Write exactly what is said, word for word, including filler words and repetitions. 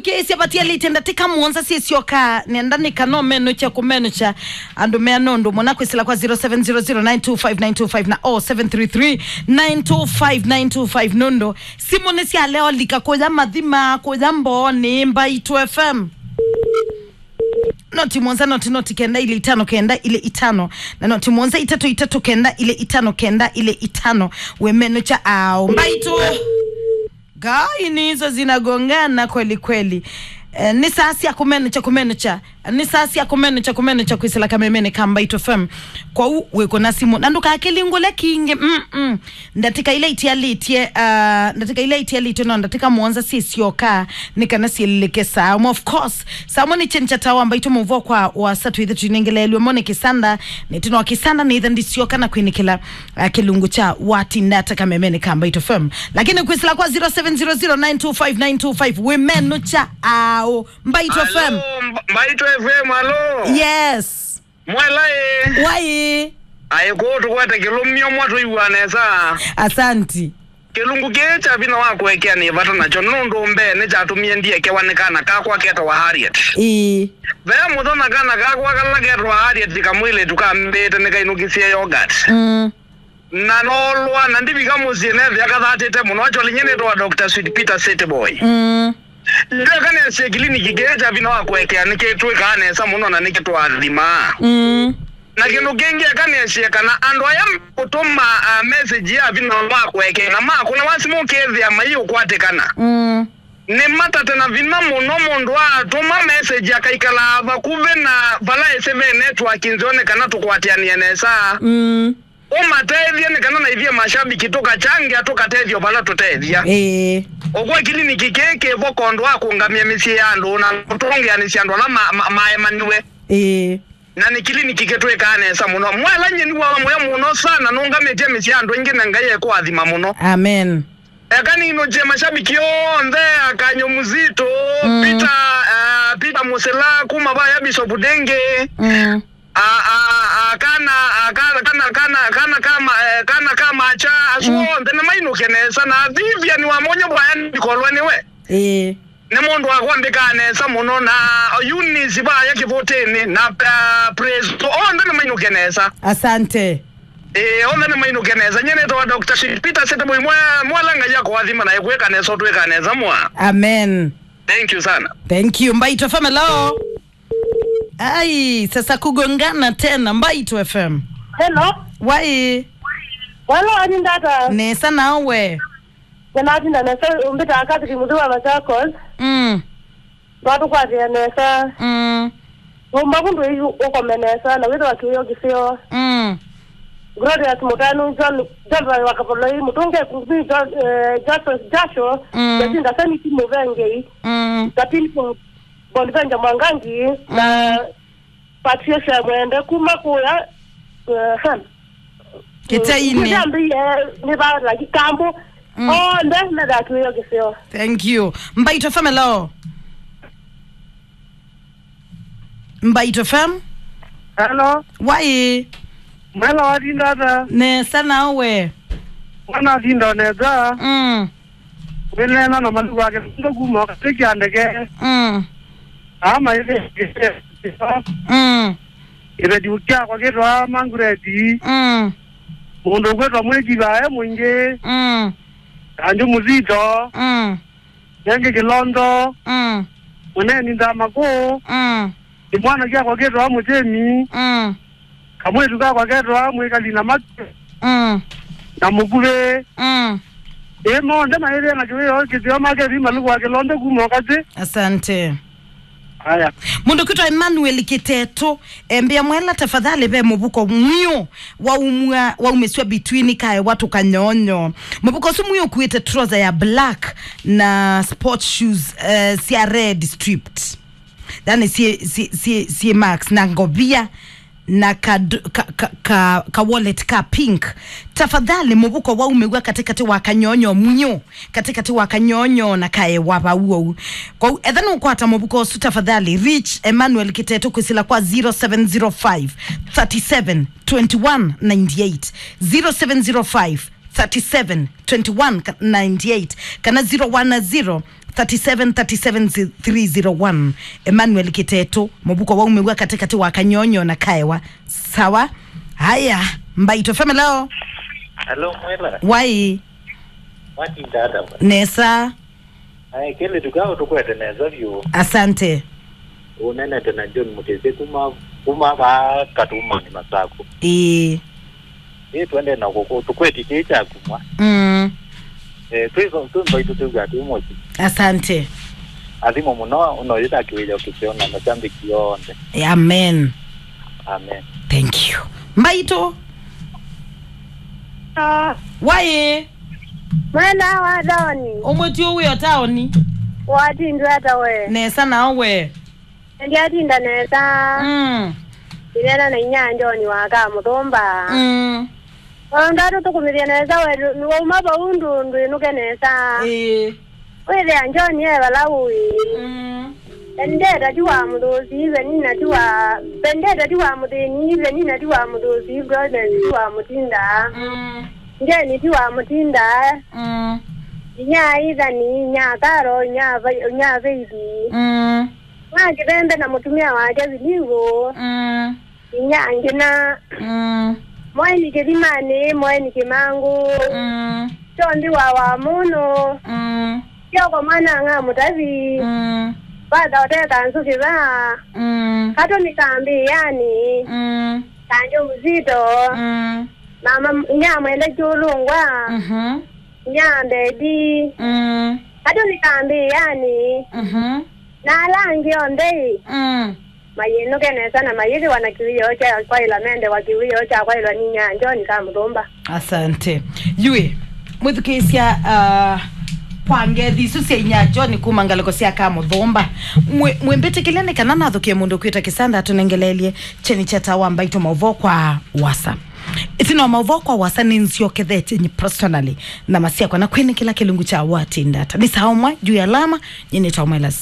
Kĩsya vatialĩte ndatĩka mũonza syĩsyoka, nenda nĩka no menũkya kũmenũkya andũ mea nũndũ mũna kwĩsĩla kwa zero seven zero zero nine two five nine two five na oh seven three three nine two five nine two five nũndũ simũ nĩ syalea olika kũya mathima, kũya mboonĩ. Mbaitũ F M. Noti mũonza, noti, noti kenda ilĩ itano kenda ilĩ itano, na noti mũonza itatũ itatũ kenda ilĩ itano kenda ilĩ itano. Wĩmenũkya ao. Mbaitũ. Ngai, ni hizo zinagongana kweli kweli. Eh, nĩ saa sya kũmenũkya, kũmenũkya. Nĩ saa sya kũmenũkya, kũmenũkya kwĩsĩla kamemenĩ ka Mbaitũ F M. Kwoou wĩkũna simũ. Na ndũkakĩlingũle kingĩ. Mm-mm. Ndatĩka ila itialĩtye, ah, ndatĩka ila itialĩtye no ndatĩka mũonza syĩsyoka nĩ kana syĩlĩke saa. Of course, saa mwe nĩ kyenĩ kya tawa Mbaitũ mũvo kwa wasa twĩthe twinengeleelwe mo nĩ kĩsanda. Nĩtino kĩsanda nĩtha ndisyoka na kwĩnĩkĩla, ah, kĩlungu kya watinda ata kamemenĩ ka Mbaitũ F M. Lakini kwĩsĩla kwa zero seven zero zero nine two five nine two five, wĩmenũkya ao. Mbaitũ F M. Alo, Mba-, Mbaitũ F M, alo. Yes. Mwela ĩ. Wai. Aĩ kũũ tũkwete kĩlũmio mwa tũiw'a nesa. Asanti. Kĩlungu kĩĩ kya vinya wa kũekea nĩ vata nakyo nũndũ mbee nĩkyatũmie ndiekewa nĩ kana kakwa ketawa Harriet. Ĩĩ. Ve mũthenya kana kakwa kala ketawa Harriet kamwĩlĩtu kambĩte nĩkainũkisye yogurt. Mm. Na noolwa na ndivika mũsyĩ nethĩa kathatĩte mũno. Actually, nyie nĩtawa Doctor Sweet Peter Setboy. Mm. Ndweka nĩasye kĩliniki kĩĩ kya vinya wa kũekea nĩkĩtwĩkaa nesa mũno na nĩkĩtũathimaa. Mm. Na kĩndũ kĩngĩ, eka nĩasye kana andũ aya kũtũma, uh, message ya vinya wa kũekea na makũna wa simũ ũkethĩa maiũkwatĩkana. Mm. Nĩ matate na vinya mũno mũndũ atũma message akaikalaa vakuvĩ na vala ĩsĩ ve network nzeo nĩ kana tũkwatĩanĩe nesa. Mm. Ũmatethye nĩ kana na ithyĩ mashabiki tũkachangĩa tũkatethyo vala tũtethya. Ĩĩ. Ũkw'a kĩliniki kĩĩ kĩvo kondũ wa kũngamĩa mĩsyĩ ya andũ na kũtongeanĩsya andũ ala ma-, ma-, maemaniwe. Ĩĩ. Na nĩ kĩliniki kĩtwĩkaa nesa mũno. Mwela nyie nĩ wa mũyo mũno sana nũngamĩtye mĩsyĩ ya andũ aingĩ na Ngai ekũathima mũno. Amen. Eka ninũkye mashabiki onthe, Akanyo Mzito, mm. Peter, uh, Peter Musela, kuma vaya Bishop Denge. Mm. A, a, a, kana, a, kana, kana, kana, kana kama, eh, kana kama cha, asu mm. Onthe nĩ mainũke nesa, na Vivian wa Monyo vaya ndikolwe nĩwe. Ĩĩ. Nĩ mũndũ wa kwambĩkaa nesa mũno, na Eunice vaya Kĩvũtĩnĩ, na, uh, Presto, onthe nĩ mainũke nesa. Asante. Ĩĩ, onthe nĩ mainũke nesa. Nyie nĩtawa Doctor Sweet Peter Setboy, mwe-, mwela Ngai akũathima na ĩkwĩka nesa, ũtwĩka nesa mwa. Amen. Thank you sana. Thank you. Mbaitũ F M, hello. Ai, sasa kugongana tena. Mbaitũ F M. Hello. Wai. Walo, ani ndata. Nesa nawe. Nĩnatinda nesa, mbĩtaa Catherine Muthiwa Machakos. Mm. Twatũkwatĩa nesa. Mm. Ũmba vũndũ yu ũkome nesa, na wĩthĩwa kĩwĩo kĩseo. Mm. Glorious Mũtanu, John, John wa Kavoloi, Mũtũnge Kũngũthi, John, eh, Joseph Jasho, mm. Jacinta Seniti Mũvengei, mm. Katini Bonvenja Mwangangi, na mm. Patricia Mwende kuma kũya, eh, Kĩteinĩ. Nĩthambĩie, nĩ va, like, kambu. Mm. Onthe methaa kĩwĩo kĩseo. Thank you. Mbaitũ F M, hello. Mbaitũ F M. Hello. Wai. Mwela watinda ata? Nesa nawe. Mwana atinda nesa. Mm. Wĩneena na malugu ake nũndũ kuma katĩ kya ndeke. Mm. Ama ĩthĩ. Mm. Ĩveti kyakwa kĩtwa Mangureti. Mm. Mũndũ ũkwĩtwa Mwĩkivae Mũingĩ. Mm. Kanjũ Mũsito. Mm. Nengĩ Kĩlondo. Mm. Mũneni Ndamaku. Mm. Kĩmwana kyakwa kĩtwa Mũtemi. Mm. Kamwĩtu kakwa ketawa Mwĩkali na Matu. Mm. Na Mũkuvĩ. Mm. Ĩ, monthe maĩthĩa na kĩwĩo kĩseo make vi malugu wa Kĩlondo kuma Ũkatĩ. Asante. Aya. Mũndũ kwĩtwa Emmanuel Kĩteto, embĩa mwela tafadhali ve mũvuko mwiũ waumwa, waumĩswa between kaewa tũkanyonyo. Mũvuko ũsu mwiũ ũkuĩte trouser ya black na sport shoes, eh, sya red stripped. Yani sie, sie, sie, sie Max na ngovia na ka, ka, ka, ka, ka wallet ka pink. Tafadhali mũvuko waumĩw'a katĩkatĩ wa kanyonyo mwiũ, katĩkatĩ wa kanyonyo na kaewa vau ou. Kwou etha nũkwata mũvuko ũsu tafadhali reach Emmanuel Kĩteto kwĩsĩla kwa zero seven zero five thirty seven twenty one ninety eight, zero seven zero five thirty-seven twenty-one ninety-eight kana zero one zero thirty-seven thirty-seven three zero one. Emmanuel Kiteto, mũvuko waumĩw'a katĩkatĩ wa Kanyonyo na Kaewa. Sawa. Haya, Mbaitũ F M, hello. Hello, Mwela. Wai. Watinda ata we? Nesa. Ae, kĩlĩ tukao tũkwete nesa vyũ. Asante. Ũnenete na John Mũtĩsĩ kuma, kuma va Katumani Masaku. Ĩĩ. Ĩĩ, twende na kũkũ, tũkweti kĩĩ kya kumwa. Mm. Eh, twĩ, twĩ Mbaitũ twĩw'a twĩ mũsyĩ. Asante. Athimo mũno, ũno yĩta kĩwĩyo kĩseo na mashabiki onthe. Amen. Amen. Thank you. Mbaitũ. Ah. Wai. Mwela wa Doni. Ũmwe ti ũwĩ o taoni. Watindwe ata we? Nesa nao we? Ndyatinda nesa. Mm. Ndinena na inya John wa Kamũthũmba. Mm. Ona ndatũtũkũmĩthya nesa we, nĩwauma vau ndũ ndwĩnũke nesa. Ĩĩ. Wĩthĩa John e vala ũĩ. Mm. Vendetta ti wa mũthũsi, Penina ti wa, Vendetta ti wa mũthĩni, Penina ti wa mũthũsi, Florence ti wa mũtinda. Mm. Jane ti wa mũtinda. Mm. Inya Ithani, inya Karo, inya Vai-, inya Veithi. Mm. Mwa Kĩvembe na mũtumĩa wake Vilivu. Mm. Inya Ngina. Mm. Mwaini Kĩthimanĩ, Mwaini Kĩmangũ. Mm. Kyondi wa Wamũnũ. Mm. Kyoko mwana ng'a Mũtavi. Mm. Vatha ũteka nzukĩ va. Mm. Katũni kambĩanĩ. Mm. Kanjo Mzito. Mm. Mama inya Mwende Kyũlũngwa. Mhm. Inya Mbedi. Mm. Katũni kambĩanĩ. Mhm. Na ala angĩ onthe ĩ. Mm. Mayĩnũke nesa na mayĩthĩwa na kĩwĩoo kya kwaĩlwa, mendewa kĩwĩoo kya kwaĩlwa nĩ inya John Kamũthũmba. Asante. Yui, mwĩthukĩĩsya, uh, kwa ngethi isu sya inya John kuma ngalĩko sya Kamũthũmba. Mwĩ-, mwĩmbĩtĩkĩlya nĩ kana nathũkĩe mũndũ kwĩta Kĩsanda atũnengeleelye kyeni kya Taa wa Mbaitũ maũvoo kwa wasa. Ĩtina wa maũvoo kwa wasa nĩnzyokethetye nye personally na masyakwa na kwĩnĩkĩla kĩlungu kya Watindata. Nĩ saa ũmwe juu ya alama, nye nĩtawa Mwelas.